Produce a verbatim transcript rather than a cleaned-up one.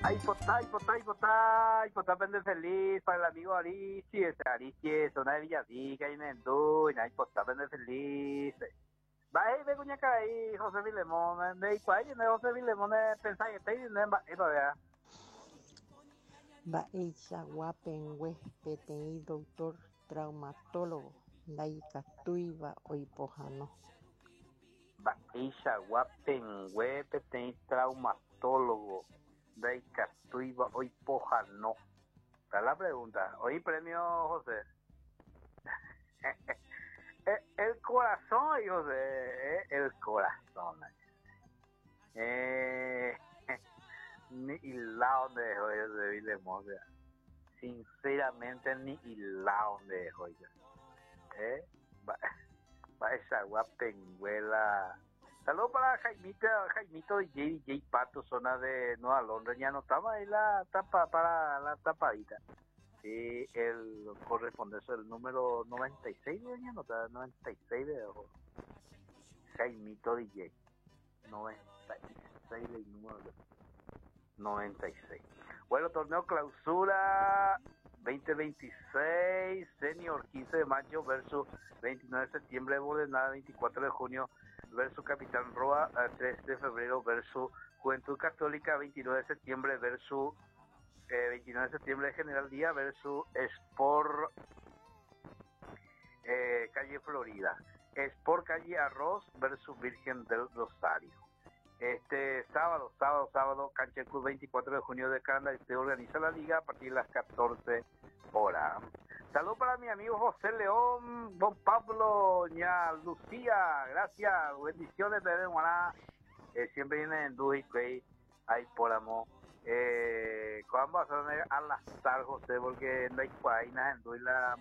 Aipota, aipota, aipota, aipota pende feliz para el amigo Aristi, ese Aristi, zona de Villarrica, y Nendú, y aipota pende feliz. Va, ve kuñakarai José Filemón, ndeikuaái José Filemón pensaite nde mba'épa vea. Mba'eichagua pehẽngue peteĩ doctor traumatólogo ndaikatúiva oipohãno. Mba'eichagua pehẽngue peteĩ traumatólogo ndaikatúiva oipohãno. Está la pregunta. Oí premio, José. El corazón, José, el corazón. Eh, ni hilado donde dejó José Filemón. Sinceramente, ni hilado donde dejó. Eh, mba'eichagua pehẽngue la. Saludos para Jaimito, Jaimito D J, D J Pato, zona de Nueva Londres. Ya anotamos ahí la tapa para la tapadita. Sí, el corresponde eso, el número noventa y seis de ya anota, noventa y seis de Jaimito D J. noventa y seis del número noventa y seis. Bueno, torneo clausura dos mil veintiséis, senior quince de mayo versus veintinueve de septiembre, Bordenada veinticuatro de junio versus Capitán Roa, tres de febrero versus Juventud Católica, veintinueve de septiembre versus eh, veintinueve de septiembre General Díaz versus Sport eh, Calle Florida. Sport Calle Arroz versus Virgen del Rosario. Este sábado, sábado, sábado, Cancha Club veinticuatro de junio de Canadá, se organiza la liga a partir de las catorce horas. Saludos para mi amigo José León, don Pablo, ña Lucía, gracias, bendiciones, bebé, eh, siempre viene en Duji, ahí por amor. Eh, ¿Cuándo vas a al azar, José? Porque no hay en la